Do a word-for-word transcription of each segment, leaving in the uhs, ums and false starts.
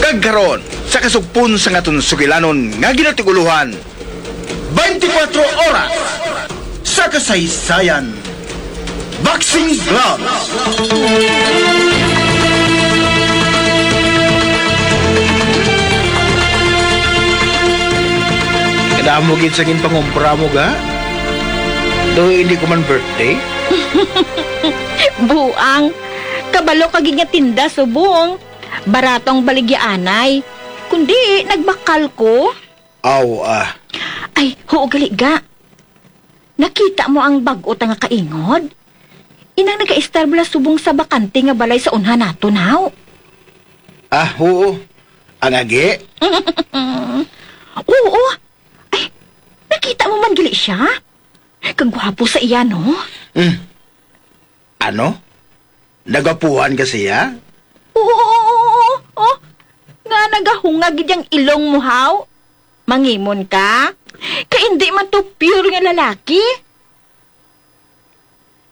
Kag karon, sa kasugpon sang aton sugilanon nga ginatig-ulohan, twenty-four oras sa kasaysayan. Boxing Gloves. Kadamo gid sa ginpangumpra mo, ga? Do hindi ko man birthday? Buang, kabalo ka gid nga tinda subong. Barato ang baligyaanay. Kundi, nagbakal ko. Aw, ah. Ay, huo gali ga. Nakita mo ang bag-o ta nga kaingod? Inang nagaistar bala subong sa bakante nga balay sa unhan naton, haw? Ah, huo. Ang agi? Oo. Ay, nakita mo man gali siya? Kagwapo sa iya, no? Mm. Ano? Nagwapuhan ka siya? Oo, oo, oo, oo. Nga nagahunga gid ang ilong mo, haw? Mangimon ka? Kay indi man to pure nga lalaki.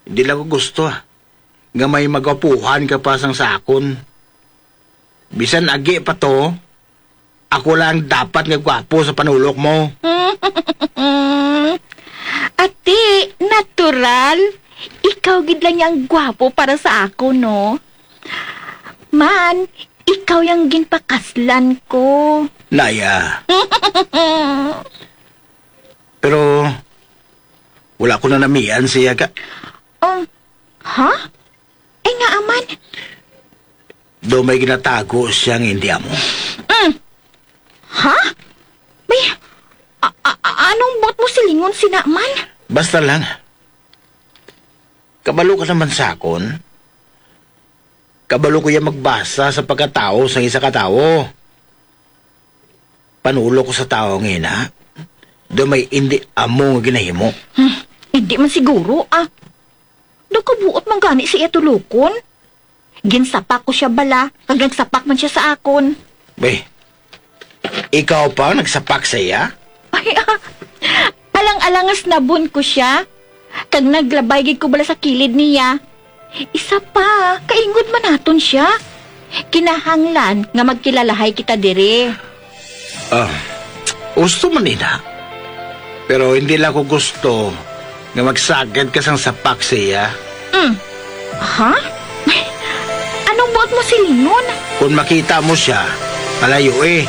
Hindi lang ko gusto, ah, nga may magwapuhan ka pa sang sa akon. Bisan agi pa to, ako lang dapat nga gwapo sa panulok mo. Ati, natural. Ikaw gid lang yang gwapo para sa ako, no? Man, ikaw yang ginpakaslan ko. Naya. Pero wala ko na namian siya ka. Um, ha? Ay, nga aman. Do may ginatago siya nga hindi amo. Mm. Ha? May, a, a, a, anong buot mo silingon sina man? Basta lang. Kabalo ka naman sa akon. Kabalo ko iya magbasa sa pagkatawo sang isa ka tawo. Panulo ko sa tawo nga ina, do may indi amo nga ginahimo. Hmm, indi man siguro, ah. Daw kabuot man gani sa iya tulokon. Ginsapak ko siya bala, kag nagsapak man siya sa akon. Be, ikaw pa ang nagsapak sa iya? Ay, ah, alang-alang nga sinabon ko siya, kag naglabay gid ko bala sa kilid niya. Isa pa, kaingod man naton siya. Kinahanglan nga magkilalahay kita diri. Ah, gusto man ina. Pero hindi lang ko gusto nga magsagad ka sang sapak sa iya. Mm. Ha? Anong buot mo silingon? Kung makita mo siya, palayo eh.